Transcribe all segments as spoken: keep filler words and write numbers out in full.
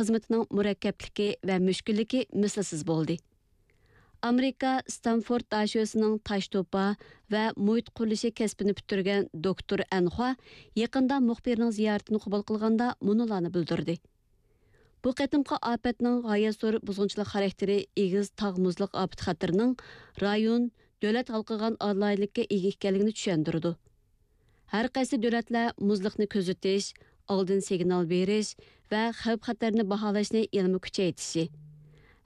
خىزمىتىنىڭ مۇرەككەپلىكى ۋە مۈشكۈللۈكى مىسلىسىز بولدى. ئامېرىكا ستانفورد داشۆسىنىڭ تاش توپا ۋە مۇھىت قۇرۇلۇشى كەسپىنى پۈتتۈرگەن دوكتور ئەنخۇا يېقىندا مۇخبىرنىڭ زىيارىتىنى قوبۇل قىلغاندا مۇنۇلارنى بىلدۈردى. بۇ قېتىمقى ئاپەتنىڭ غايەت زور بۇزغۇنچىلىق خاراكتېرى ئېگىز تاغ مۇزلۇق ئاپىتى خەتىرىنىڭ رايون، دۆلەت ھالقىغان ئالاھىدىلىككە ئىگە ئىكەنلىكىنى چۈشەندۈرىدۇ. ھەر قايسى دۆلەتلەر مۇزلۇقنى كۆزىتىش، ئالدىن سىگنال بېرىش ۋە خەۋپ-خەتەرنى باھالاشنى يەنىمۇ كۈچەيتىشى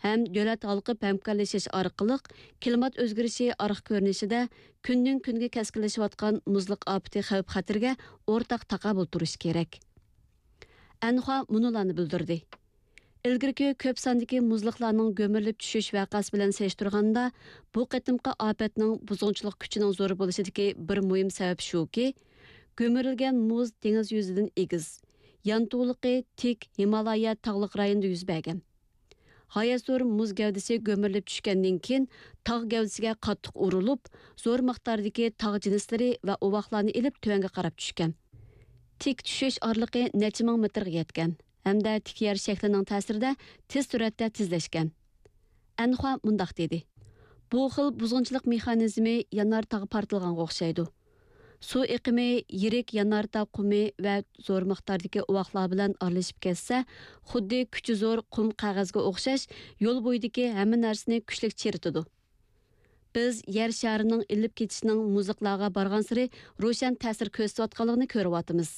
ھەم دۆلەت ھالقىپ ھەمكارلىشىش ئارقىلىق كىلىمات ئۆزگىرىشى ئارقا كۆرۈنۈشىدە كۈندىن-كۈنگە كەسكىنلىشىۋاتقان مۇزلۇق ئاپىتى خەۋپ-خەتىرىگە ئورتاق تاقابىل تۇرۇش كېرەك. ئەنخۇا مۇنۇلارنى بىلدۈردى. ئىلگىرىكى كۆپ ساندىكى مۇزلۇقلارنىڭ گۆمۈرۈلۈپ چۈشۈش ۋەقەسى بىلەن سېلىشتۇرغاندا، بۇ قېتىمقى ئاپەتنىڭ بۇزغۇنچىلىق كۈچىنىڭ زور بولۇشىدىكى بىر مۇھىم سەۋەب شۇكى، گۆمۈرۈلگەن مۇز دېڭىز يۈزىدىن ئېگىز، يانتۇلۇقى تىك ھىمالايا تاغلىق رايونىدا يۈز بەرگەن. غايەت زور مۇز گەۋدىسى گۆمۈرۈلۈپ چۈشكەندىن كېيىن، تاغ گەۋدىسىگە قاتتىق ئۇرۇلۇپ، زور مىقداردىكى تاغ جىنسلىرى ۋە ئۇۋاقلارنى ئېلىپ تۆۋەنگە قاراپ چۈشكەن. تىك چۈشۈش ئارىلىقى نەچچە مىڭ مېتىرغا يەتكەن ھەمدە تىك يەر شەكلىنىڭ تەسىرىدە تېز سۈرئەتتە تېزلەشكەن. ئەنخۇا مۇنداق دېدى: بۇ خىل بۇزغۇنچىلىق مېخانىزمى يانار تاغ پارتلىغانغا ئوخشايدۇ. سۇ ئېقىمى يىرىك يانار تاغ قۇمى ۋە زور مىقداردىكى ئۇۋاقلار بىلەن ئارىلىشىپ كەتسە، خۇددى كۈچى زور قۇم قەغەزگە ئوخشاش يول بويىدىكى ھەممە نەرسىنى كۈچلۈك چىرىتىدۇ. بىز يەر شارىنىڭ ئېلىپ كېتىشىنىڭ مۇزلۇقلارغا بارغانسېرى روشەن تەسىر كۆرسىتىۋاتقانلىقىنى كۆرۈۋاتىمىز.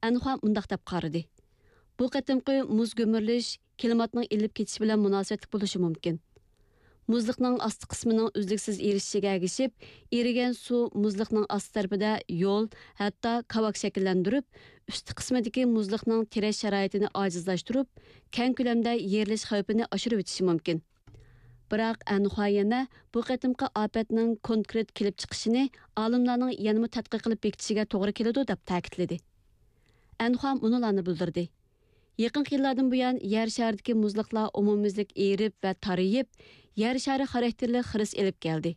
ئەنخۇا مۇنداق دەپ قارىدى: بۇ قېتىمقى مۇز گۈمۈرۈلۈش كىلىماتنىڭ ئېلىپ كېتىشى بىلەن مۇناسىۋەتلىك بولۇشى مۇمكىن. مۇزلۇقنىڭ ئاستى قىسمىنىڭ ئۈزلۈكسىز ئېرىشىشىگە ئەگىشىپ، ئېرىگەن سۇ مۇزلۇقنىڭ ئاستى تەرىپىدە يول، ھەتتا كاۋاك شەكىللەندۈرۈپ، ئۈستى قىسمىدىكى مۇزلۇقنىڭ تىرەش شارائىتىنى ئاجىزلاشتۇرۇپ، كەڭ كۆلەمدە يېرىلىش خەۋپىنى ئاشۇرۇۋېتىشى مۇمكىن. بىراق ئەنخۇا يەنە بۇ قېتىمقى ئاپەتنىڭ كونكرېت كېلىپ چىقىشىنى ئالىملارنىڭ يەنىمۇ تەتقىق قىلىپ بېكىتىشىگە توغرا كېلىدۇ، دەپ تەكىتلىدى. ئەنخۇا مۇنۇلارنى بىلدۈردى: يېقىنقى يىللاردىن بۇيان، يەر شارىدىكى مۇزلۇقلار ئومۇميۈزلۈك ئېرىپ ۋە تارىيىپ، يەر شارى خاراكتېرلىك خىرىس ئېلىپ كەلدى.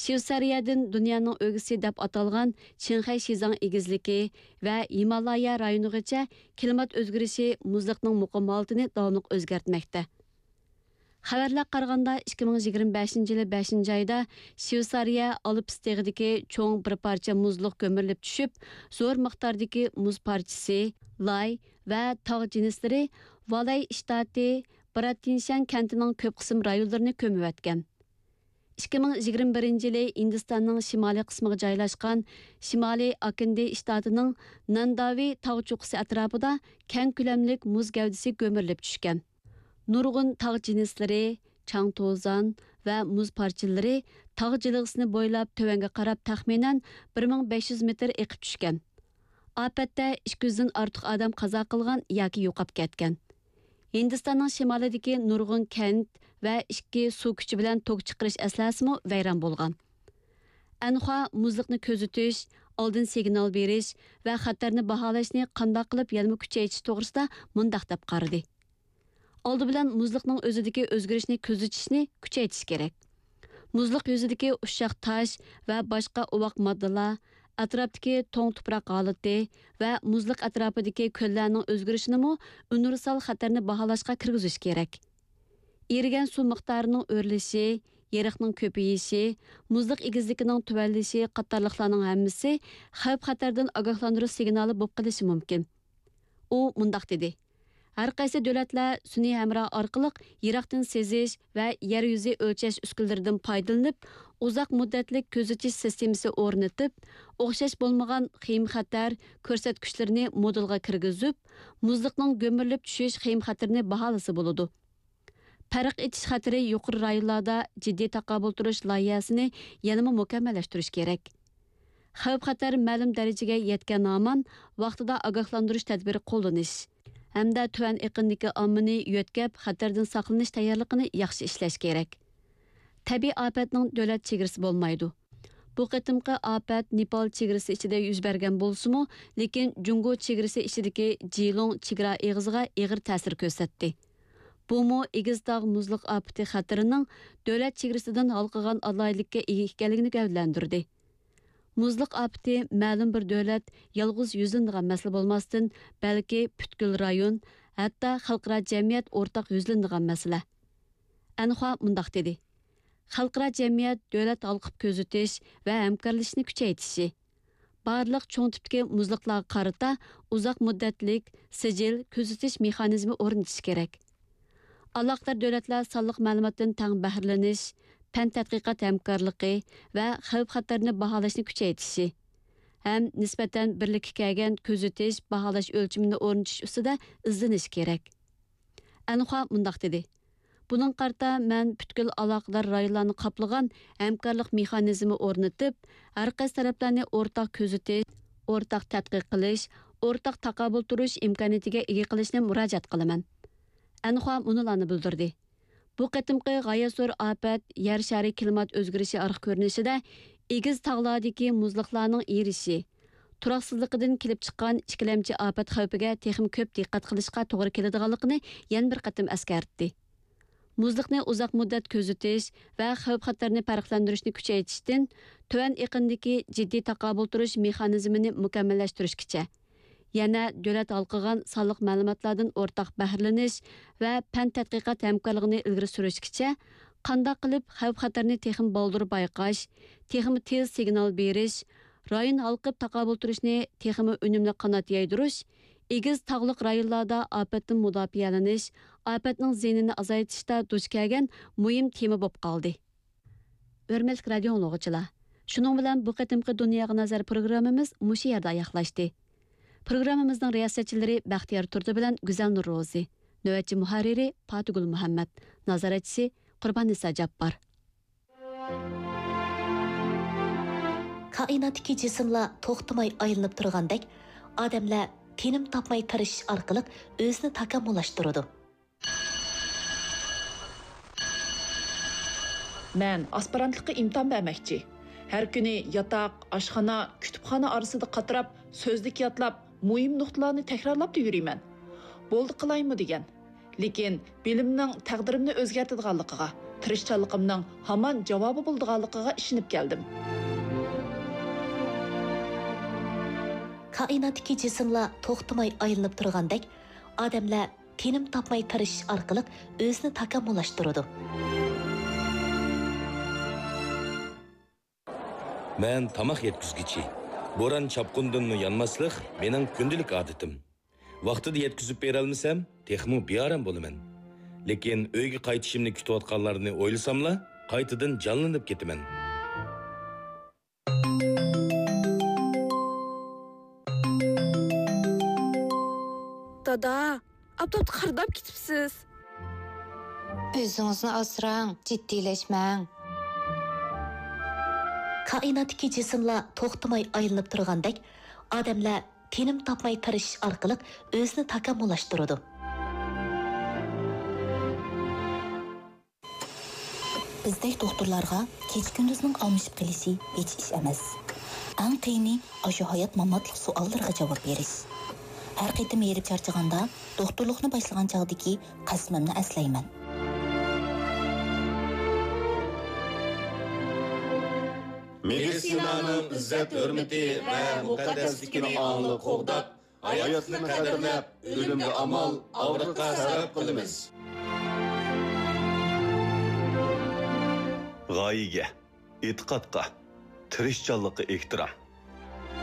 شۋېتسارىيەدىن دۇنيانىڭ ئۆگزىسى دەپ ئاتالغان چىڭخەي شىزاڭ ئېگىزلىكى ۋە ھىمالايا رايونىغىچە كىلىمات ئۆزگىرىشى مۇزلۇقنىڭ مۇقىم ھالىتىنى داۋاملىق ئۆزگەرتمەكتە. خەۋەرلەرگە قارىغاندا، ئىككى مىڭ يىگىرمە بەشىنچى يىلى بەشىنچى ئايدا شۋېتسارىيە ئالپس تېغىدىكى چوڭ بىر پارچە مۇزلۇق گۆمۈرۈلۈپ چۈشۈپ، زور مىقداردىكى مۇز پارچىسى، لاي ۋە تاغ جىنسلىرى ۋالاي شتاتى براتىنشەن كەنتىنىڭ كۆپ قىسىم رايونلىرىنى كۆمۈۋەتكەن. ئىككى مىڭ يىگىرمە بىرىنچى يىلى ھىندىستاننىڭ شىمالىي قىسمىغا جايلاشقان شىمالىي ئاكىندى شتاتىنىڭ نانداۋى تاغ چوققىسى ئەتراپىدا كەڭ كۆلەملىك مۇز گەۋدىسى گۆمۈرۈلۈپ چۈشكەن. نۇرغۇن تاغ جىنسلىرى، چاڭ-توزان ۋە مۇز پارچىلىرى تاغ جىلغىسىنى بويلاپ تۆۋەنگە قاراپ تەخمىنەن بىر مىڭ بەش يۈز مېتىر ئېقىپ چۈشكەن. ئاپەتتە ئىككى يۈزدىن ئارتۇق ئادەم قازا قىلغان ياكى يوقاپ كەتكەن. ھىندىستاننىڭ شىمالىدىكى نۇرغۇن كەنت ۋە ئىككى سۇ كۈچى بىلەن توك چىقىرىش ئەسلىھەسىمۇ ۋەيران بولغان. ئەنخۇا مۇزلۇقنى كۆزىتىش، ئالدىن سىگنال بېرىش ۋە خەتەرنى باھالاشنى قانداق قىلىپ يەنىمۇ كۈچەيتىش توغرىسىدا مۇنداق دەپ قارىدى: ئالدى بىلەن مۇزلۇقنىڭ ئۆزىدىكى ئۆزگىرىشنى كۆزىتىشنى كۈچەيتىش كېرەك. مۇزلۇق يۈزىدىكى ئۇششاق تاش ۋە باشقا ئوۋاق ماددىلار، ئەتراپتىكى توڭ تۇپراق ھالىتى ۋە مۇزلۇق ئەتراپىدىكى كۆللەرنىڭ ئۆزگىرىشىنىمۇ ئۇنىۋېرسال خەتەرنى باھالاشقا كىرگۈزۈش كېرەك. ئېرىگەن سۇ مىقدارىنىڭ ئۆرلىشى، يېرىقنىڭ كۆپىيىشى، مۇزلۇق ئېگىزلىكىنىڭ تۆۋەنلىشى قاتارلىقلارنىڭ ھەممىسى خەۋپ-خەتەردىن ئاگاھلاندۇرۇش سىگنالى بولۇپ قېلىشى مۇمكىن. ئۇ مۇنداق دېدى: ھەر قايسى دۆلەتلەر سۈنئىي ھەمراھ ئارقىلىق يىراقتىن سېزىش ۋە يەر يۈزى ئۆلچەش ئۈسكۈنىلىرىدىن پايدىلىنىپ، ئۇزاق مۇددەتلىك كۆزىتىش سىستېمىسى ئورنىتىپ، ئوخشاش بولمىغان خېيىم-خەتەر كۆرسەتكۈچلىرىنى مودېلغا كىرگۈزۈپ، مۇزلۇقنىڭ گۆمۈرۈلۈپ چۈشۈش خېيىم-خەتىرىنى باھالىسا بولىدۇ. پەرق ئېتىش خەتىرى يۇقىرى رايونلاردا جىددىي تاقابىل تۇرۇش لايىھەسىنى يەنىمۇ مۇكەممەللەشتۈرۈش كېرەك. خەۋپ-خەتەر مەلۇم دەرىجىگە يەتكەن ھامان ۋاقتىدا ئاگاھلاندۇرۇش تەدبىرى قوللىنىش ھەمدە تۆۋەن ئېقىندىكى ئاممىنى يۆتكەپ، خەتەردىن ساقلىنىش تەييارلىقىنى ياخشى ئىشلەش كېرەك. تەبىئىي ئاپەتنىڭ دۆلەت چېگرىسى بولمايدۇ. بۇ قېتىمقى ئاپەت نېپال چېگرىسى ئىچىدە يۈز بەرگەن بولسىمۇ، لېكىن جۇڭگو چېگرىسى ئىچىدىكى جىلۇڭ چېگرا ئېغىزىغا ئېغىر تەسىر كۆرسەتتى. بۇمۇ ئېگىز تاغ مۇزلۇق ئاپىتى خەتىرىنىڭ دۆلەت چېگرىسىدىن ھالقىغان ئالاھىدىلىككە ئىگە ئىكەنلىكىنى گەۋدىلەندۈردى. مۇزلۇق ئاپىتى مەلۇم بىر دۆلەت يالغۇز يۈزلىنىدىغان مەسىلە بولماستىن، بەلكى پۈتكۈل رايون، ھەتتا خەلقئارا جەمئىيەت ئورتاق يۈزلىنىدىغان مەسىلە. ئەنخۇا مۇنداق دېدى: خەلقئارا جەمئىيەت دۆلەت ھالقىپ كۆزىتىش ۋە ھەمكارلىشىشنى كۈچەيتىشى، بارلىق چوڭ تىپتىكى مۇزلۇقلارغا قارىتا ئۇزاق مۇددەتلىك سىجىل كۆزىتىش مېخانىزمى ئورنىتىشى كېرەك. ئالاقىدار دۆلەتلەر سانلىق مەلۇماتتىن تەڭ بەھرىلىنىش، پەن تەتقىقات ھەمكارلىقى ۋە خەۋپ خەتەرنى باھالاشنى كۈچەيتىشى ھەم نىسبەتەن بىرلىككە كەلگەن كۆزىتىش، باھالاش ئۆلچىمىنى ئورنىتىش ئۈستىدە ئىزدىنىشى كېرەك. ئەنخۇا مۇنداق دېدى: بۇنىڭغا قارىتا مەن پۈتكۈل ئالاقىدار رايونلارنى قاپلىغان ھەمكارلىق مېخانىزمى ئورنىتىپ، ھەر قايسى تەرەپلەرنى ئورتاق كۆزىتىش، ئورتاق تەتقىق قىلىش، ئورتاق تاقابىل تۇرۇش ئىمكانىيىتىگە ئىگە قىلىشنى مۇراجىئەت قىلىمەن. ئەنخۇا مۇنۇلارنى بىلدۈردى: بۇ قېتىمقى غايەت زور ئاپەت يەر شارى كىلىمات ئۆزگىرىشى ئارقا كۆرۈنۈشىدە ئېگىز تاغلاردىكى مۇزلۇقلارنىڭ ئېرىشىشى، تۇراقسىزلىقىدىن كېلىپ چىققان ئىككىلەمچى ئاپەت خەۋپىگە تېخىمۇ كۆپ دىققەت قىلىشقا توغرا كېلىدىغانلىقىنى يەنە بىر قېتىم ئەسكەرتتى. مۇزلۇقنى ئۇزاق مۇددەت كۆزىتىش ۋە خەۋپ-خەتەرنى پەرقلەندۈرۈشنى كۈچەيتىشتىن تۆۋەن ئېقىندىكى جىددىي تاقابىل تۇرۇش مېخانىزمىنى مۇكەممەللەشتۈرۈشكىچە، يەنە دۆلەت ھالقىغان سانلىق مەلۇماتلاردىن ئورتاق بەھرىلىنىش ۋە پەن تەتقىقات ھەمكارلىقىنى ئىلگىرى سۈرۈشكىچە، قانداق قىلىپ خەۋپ-خەتەرنى تېخىمۇ بالدۇر بايقاش، تېخىمۇ تېز سىگنال بېرىش، رايون ھالقىپ تاقابىل تۇرۇشنى تېخىمۇ ئۈنۈملۈك قانات يايدۇرۇش، ئېگىز تاغلىق رايونلاردا ئاپەتتىن مۇداپىئەلىنىش، ئاپەتنىڭ زىيىنىنى ئازايتىشتا دۇچ كەلگەن مۇھىم تېما بولۇپ قالدى. ھۆرمەتلىك رادىيو ئاڭلىغۇچىلار، شۇنىڭ بىلەن بۇ قېتىمقى دۇنياغا نەزەر پروگراممىمىز مۇشۇ يەردە ئاياغلاشتى. پروگراممىمىزنىڭ رىياسەتچىلىرى بەختىيار تۇردى بىلەن گۈزەل نۇرروزى، نۆۋەتچى مۇھەررىرى پاتىگۈل مۇھەممەت، نازارەتچىسى قۇرباننىسا جاپپار. كائىناتتىكى جىسىملار توختىماي ئايلىنىپ تۇرغاندەك، ئادەملەر تىنىم تاپماي تىرىشىش ئارقىلىق ئۆزىنى تاكامۇللاشتۇرىدۇ. مەن ئاسپىرانتلىققا ئىمتىھان بەرمەكچى. ھەر كۈنى ياتاق، ئاشخانا، كۇتۇپخانا ئارىسىدا قاتراپ، سۆزلۈك يادلاپ، مۇھىم نۇقتىلارنى تەكرارلاپلا يۈرىمەن. بولدى قىلايمۇ دېگەن. لېكىن بىلىمنىڭ تەقدىرىمنى ئۆزگەرتىدىغانلىقىغا، تىرىشچانلىقىمنىڭ ھامان جاۋابى بولىدىغانلىقىغا ئىشىنىپ كەلدىم. كائىناتتىكى جىسىملار توختىماي ئايلىنىپ تۇرغاندەك، ئادەملەر تىنىم تاپماي تىرىشىش ئارقىلىق ئۆزىنى تاكامۇللاشتۇرىدۇ. مەن تاماق يەتكۈزگۈچى. بوران-چاپقۇندىنمۇ يانماسلىق مېنىڭ كۈندىلىك ئادىتىم. ۋاقتىدا يەتكۈزۈپ بېرەلمىسەم، تېخىمۇ بىئارام بولىمەن. لېكىن ئۆيگە قايتىشىمنى كۈتۈۋاتقانلارنى ئويلىساملا، قايتىدىن جانلىنىپ كېتىمەن. دادا، ئاپتاپتا قارىداپ كېتىپسىز. ئۆزىڭىزنى ئاسراڭ، جىددىيلەشمەڭ. كائىناتتىكى جىسىملار توختىماي ئايلىنىپ تۇرغاندەك، ئادەملەر تىنىم تاپماي تىرىشىش ئارقىلىق ئۆزىنى تاكامۇللاشتۇرىدۇ. بىزدەك دوختۇرلارغا كېچە-كۈندۈزنىڭ ئالمىشىپ قېلىشى ھېچ ئىش ئەمەس. ئەڭ قىيىنى ئاشۇ ھايات-ماماتلىق سوئاللىرىغا جاۋاب بېرىش. ھەر قېتىم ھېرىپ چارچىغاندا، دوختۇرلۇقنى باشلىغان چاغدىكى قەسىمىمنى ئەسلەيمەن. مېدىتسىنانىڭ ئىززەت-ھۆرمىتى ۋە مۇقەددەسلىكىنى ئاڭلىق قوغداپ، ھاياتنى قەدىرلەپ، ئۆلۈمگە ئامال، ئاغرىققا سەۋەب قىلىمىز. غايىگە، ئېتىقادقا، تىرىشچانلىققا ئېھتىرام.